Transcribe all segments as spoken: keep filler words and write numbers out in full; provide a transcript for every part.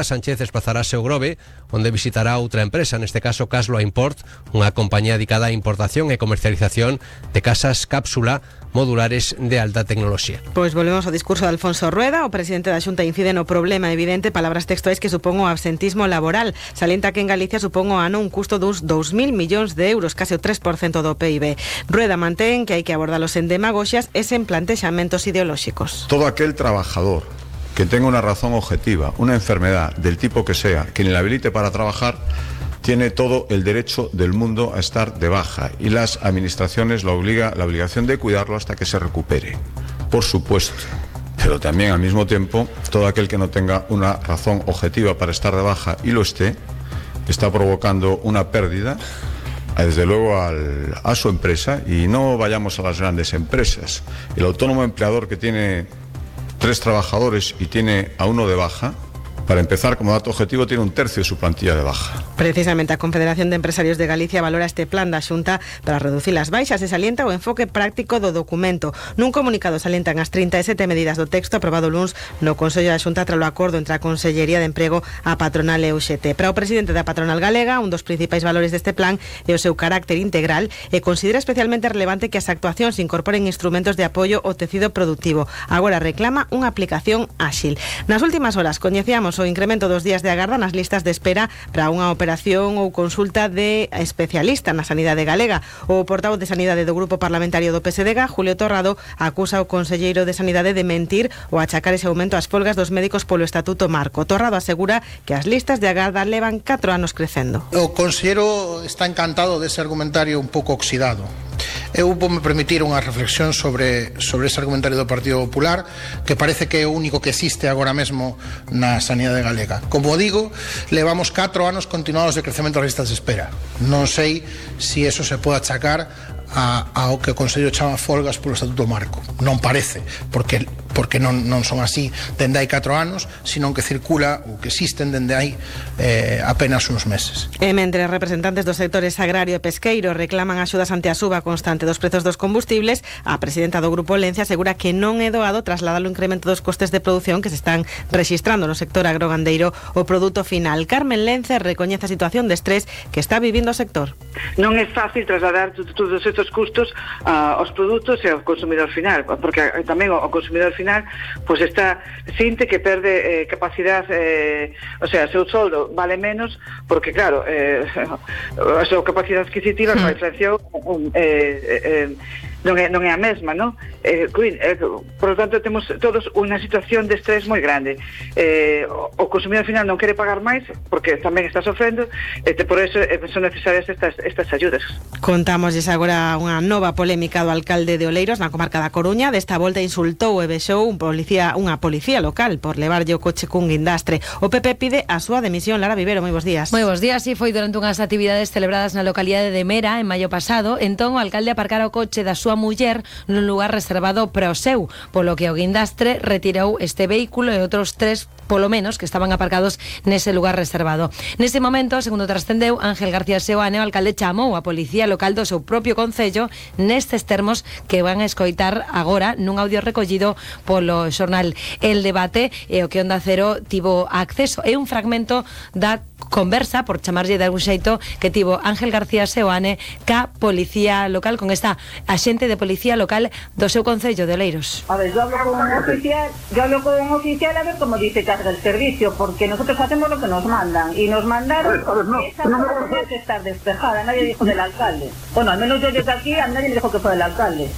Sánchez desplazarase ao Grove, onde visitará outra empresa, neste caso Casloa Import, unha compañía dedicada á importación e comercialización de casas cápsula modulares de alta tecnoloxía. Pois volvemos ao discurso de Alfonso Rueda. O presidente da Xunta incide no problema evidente, palabras textuais, que supón o absentismo laboral. Salienta que en Galicia supón o ano un custo dos dous mil millóns de euros, case o tres por cento do P I B. Rueda mantén que hai que abordalos en demagoxias e sen plantexamentos ideolóxicos. Todo aquel trabajador que tenga una razón objetiva, una enfermedad del tipo que sea, que le habilite para trabajar, tiene todo el derecho del mundo a estar de baja, y las administraciones la obliga, la obligación de cuidarlo hasta que se recupere, por supuesto. Pero también al mismo tiempo, todo aquel que no tenga una razón objetiva para estar de baja y lo esté, está provocando una pérdida, desde luego al, a su empresa. Y no vayamos a las grandes empresas. El autónomo empleador que tiene tres trabajadores y tiene a uno de baja, para empezar, como dato objetivo, tiene un tercio de su plantilla de baja. Precisamente a Confederación de Empresarios de Galicia valora este plan da Xunta para reducir as baixas e salienta o enfoque práctico do documento. Nun comunicado salientan as trinta e sete medidas do texto aprobado luns no Consello da Xunta tras o acordo entre a Consellería de Emprego, a patronal e o U X T. Para o presidente da patronal galega, un dos principais valores deste plan é o seu carácter integral e considera especialmente relevante que as actuacións incorporen instrumentos de apoio ao tecido productivo. Agora reclama unha aplicación áxil. Nas últimas horas coñecíamos o incremento dos días de agarda nas listas de espera para unha operación ou consulta de especialista na sanidade galega. O portavoz de Sanidade do Grupo Parlamentario do P S D G, Julio Torrado, acusa o conselleiro de Sanidade de mentir ou achacar ese aumento ás folgas dos médicos polo Estatuto Marco. Torrado asegura que as listas de agarda levan catro anos crecendo. O conselleiro está encantado dese argumentario un pouco oxidado. Eu vou me permitir unha reflexión sobre, sobre ese argumentario do Partido Popular, que parece que é o único que existe agora mesmo na sanidade galega. Como digo, levamos catro anos continuados de crecemento das listas de espera. Non sei se eso se pode achacar a, ao que o Consello chama folgas polo Estatuto Marco. Non parece, porque porque non, non son así dende hai catro anos, senón que circula ou que existen dende hai eh, apenas uns meses. E mentre representantes dos sectores agrario e pesqueiro reclaman axudas ante a suba constante dos prezos dos combustibles, a presidenta do Grupo Lencia asegura que non é doado trasladar o incremento dos costes de produción que se están rexistrando no sector agrogandeiro o produto final. Carmen Lencia recoñece a situación de estrés que está vivindo o sector. Non é fácil trasladar todos estes custos uh, aos produtos e ao consumidor final, porque tamén o consumidor final pois está sinte que perde eh, capacidade, eh, o sea, seu soldo vale menos porque claro, eh, a súa capacidade adquisitiva con a inflación um, eh, eh, non é, non é a mesma, non? Eh, eh, por lo tanto, temos todos unha situación de estrés moi grande. Eh, o, o consumidor final non quere pagar máis porque tamén está sofrendo, e por eso eh, son necesarias estas, estas ayudas. Contámosles agora unha nova polémica do alcalde de Oleiros na comarca da Coruña. Desta volta insultou e vexou un policía, unha policía local por levarlle o coche cun guindastre. O P P pide a súa demisión. Lara Vivero, moi bons días. Moi bons días, e foi durante unhas actividades celebradas na localidade de Mera en maio pasado. Entón o alcalde aparcara o coche da súa muller nun lugar reservado para o seu, polo que o guindastre retirou este vehículo e outros tres polo menos que estaban aparcados nese lugar reservado. Nese momento, segundo trascendeu, Ángel García Seoane, o alcalde chamou a policía local do seu propio concello nestes termos que van a escoitar agora nun audio recollido polo xornal El Debate, e o que Onda Cero tivo acceso. É un fragmento da conversa, por chamarlle de algún xeito, que tivo Ángel García Seoane ca policía local, con esta axente de policía local do seu concello de Oleiros. A ver, yo hablo con un oficial, yo hablo con un oficial a ver cómo dice que hace el servicio, porque nosotros hacemos lo que nos mandan, y nos mandaron a ver, a ver, no, esa no, no, no, no. que estar despejada, nadie dijo del alcalde. Bueno, al menos yo desde aquí, a nadie me dijo que fue del alcalde.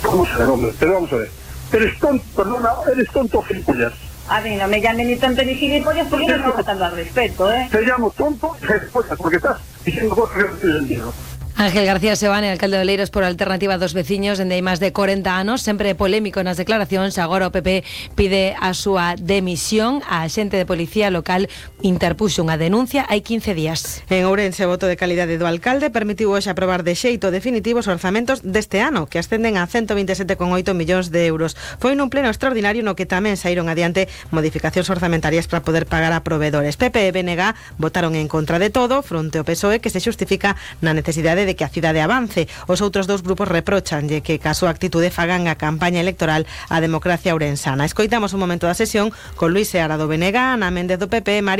Vamos a ver, hombre, pero vamos a ver. Eres tonto, perdona, eres tonto, gilipollas. A mí no me llamen ni tonto ni gilipollas, porque yo no estoy faltando al respeto, ¿eh? Te llamo tonto y gilipollas, porque estás diciendo cosas que no estoy entendiendo. Ángel García Seoane, alcalde de Oleiros por Alternativa dos Veciños, dende hai máis de corenta anos, sempre polémico nas declaracións. Agora o P P pide a súa demisión. A xente de policía local interpuxo unha denuncia hai quince días. En Ourense, o voto de calidade do alcalde permitiu hoxe aprobar de xeito definitivo os orzamentos deste ano, que ascenden a ciento veintisiete coma oito millóns de euros. Foi nun pleno extraordinario no que tamén saíron adiante modificacións orzamentarias para poder pagar a provedores. P P e B N G votaron en contra de todo, fronte ao P S O E, que se xustifica na necesidade de de que a cidade avance. Os outros dous grupos reprochanlle que ca súa actitude fagan a campaña electoral a democracia ourensana. Escoitamos un momento da sesión con Luis Seara do B N G, Ana Méndez do P P, María